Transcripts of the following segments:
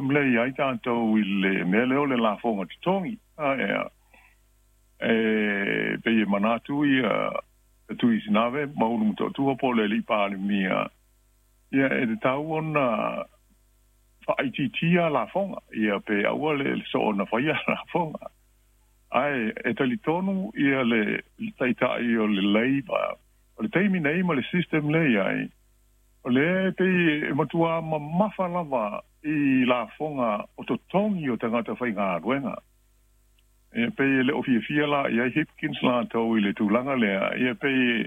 system le i ai tatou i le mea lea o le lafoga totogi. Ia e pei e manatu ia Tuisinave ma Ulu Motootua po o le alii Palemia, ia e tatau ona faaitiitia lafoga, ia pe aua le soona faia lafoga. Ae e talitonu ia le taitai o le Labour, o le taimi nei ma le system lea i ai, o lea e pei e matua mamafa lava i lafoga o totogi o tagata faigaluega. Ia pei e le o fiafia la i ai Hipkins latou i le tulaga lea, ia pei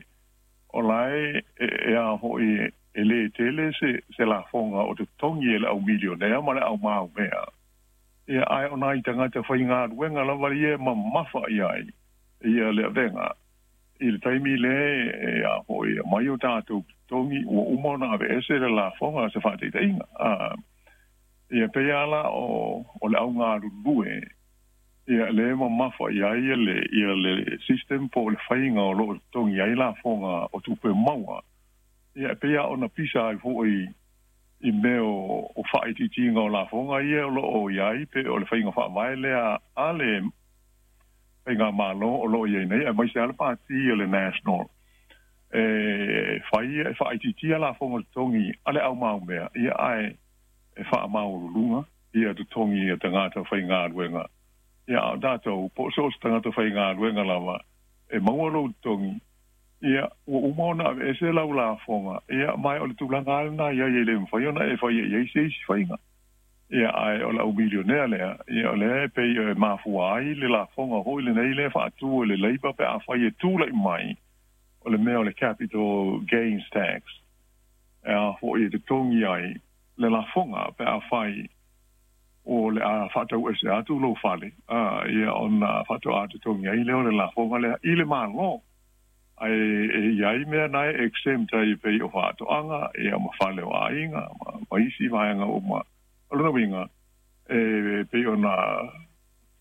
o la e a foi e lē tele se lafoga o totogi e le au milionea ma le au maumea. Ia ae o nai tagata faigaluega lava ia e mamafa i ai ia le avega i le taimi lea e a foi mai o tatou totogi ua uma ona aveese le lafoga se faataitaiga. Ia pei lava la o le au galulue ia lea e mamafa i ai ia le system po o le faiga o lo o totogi ai lafoga o tupe maua. Ia pei lava ona pisa ai foi i mea o faaitiitiga o lafoga ia o lo o i ai pe o le faiga faavae lea a le faigamalo o lo o i ai nei, aemaise lava le pati o le National e fai e faaitiitia lafoga totogi a le au maumea, ia ae e faamaualuluga ia totogi a tagata faigaluega. Ia a o tatou po o so o se tagata faigaluega lava e maua lou totogi, ia ua uma ona aveese lau lafoga, ia ma o le tulaga lava lena i ai e le mafai ona e faia i ai se isi faiga. Ia ae o le au milionea lea, ia o lea e pei e mafua ai le lafoga foi lenei lea faatu e le Labour pe afai e tulai mai o le mea o le capital gains tax e a foi e totogi ai le lafoga pe afai o le a faatauese atu lou fale, ia ona faatoa totogi ai lea o le lafoga lea i le Malo. Ae e i ai mea na e exempt ai e pei o faatoaga, ia ma fale o aiga ma isi vaega uma. O lona uiga e pei ona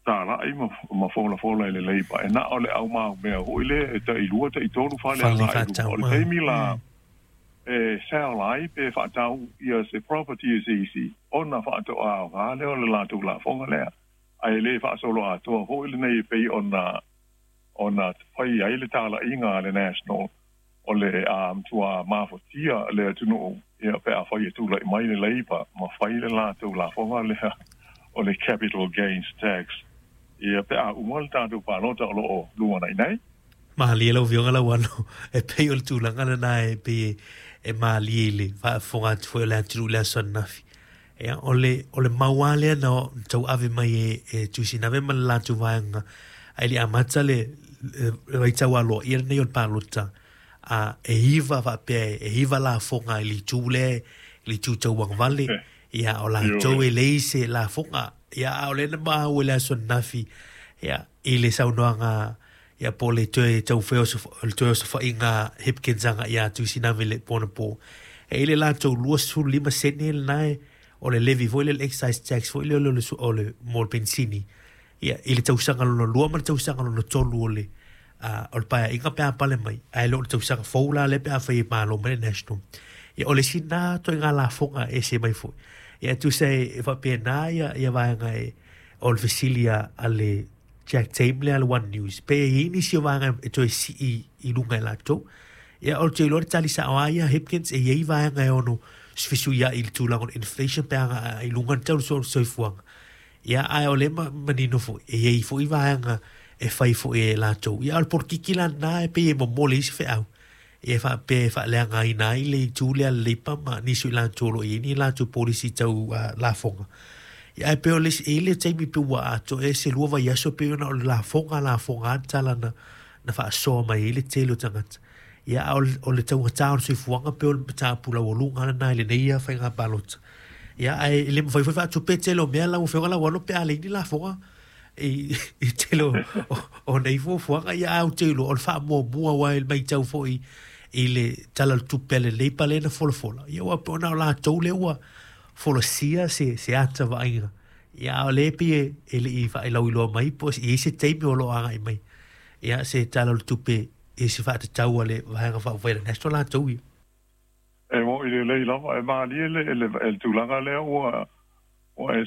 talai ma folafola e le Labour, e na o le au maumea foi lea e tailua taitolu fale agai i luga. O le taimi la e sell ai pe faatau ia se property e se isi, ona faatoa aoga lea o le latou lafoga lea. Ae le faasolo atoa foi lenei e pei ona fai ai le talaiga a le National o le a matua mafatia le atunuu, ia pe afai e tulai mai le Labour ma fai le latou lafoga lea o le capital gains tax, ia pe a uma le tatou palota o lo o lumanai nei. Malie lau Afioga Lauano, e pei o le tulaga lena e pei e malie i le faafofoga atu foi o le atunuu i le aso ananafi. Ia, o le mau lava lea na tauave mai e Tuisinave ma le latou vaega ae le i amata le vaitau aloaia lenei o le palota, a e 9 faapea e 9 lafoga i le itu lea, i le itu tauagavale, ia o latou e leai se lafoga. Ia a o lea na maua i le aso ananafi, ia i le saunoaga, ia po o le toe taufai o le toe osofaiga Hipkins aga ia Tuisinave le pona po e i le latou 25 sene lena e o le levy foi le excise tax foi le o le mo le pensini, ia i le tausaga lona lua ma le tausaga lona tolu o le paeaiga pe a pale mai, ae le o le tausaga fou la le pe a fai e malo mai le National. Ia o le isi na toaiga lafoga e ese mai foi. Ia tusa e faapena ia vaega e o le fesili a le Jack Tame lea a le One News pe e i nisi o vaega e toe sii i luga e latou. Ia o le te iloa le tali sao a ia Hipkins, e i ai vaega e ono fesuiai i le tulaga o le inflation pe aga i luga le tau o le soifuaga. Ia ae o le manino foi e i ai foi vaega e fai foi e latou. Ia o le polokiki la lena e pei e momoli ai se feau ia faapea e faaleagaina ai le itu lea le Labour ma nisi o i latou o lo o i ai ni latou polisi tau lafoga. Ia ae pei o le isi, e i ai le taimi pe ua atoa ea se 2 vaiaso pei ona o le lafoga lafoga lava le tala na faasoa mai ai le tele o tagata. Ia a o le taugata o le soifuaga pei o le mataupu laualuga lena i lenei ia faiga palota. Ia ae le mafai foi faatupe tele o mea lau Afioga Lauano pe a leai ni lafoga i tele o nei fuafuaga. Ia ae ou te iloa o le faamuamua aua e matau foi i le Tala o le Tupe a le Labour lea na folafola. Ia ua pei ona o latou lea ua folasia se ata vaaiga. Ia a o lea pei e le i faailauiloa mai po o i ai se taimi o lo o agai mai. Ia se Tala o le Tupe i se faatatau a le Vaega Faaupufai a le National latou ia. E mo i le lei lava e malie le tulaga lea ua e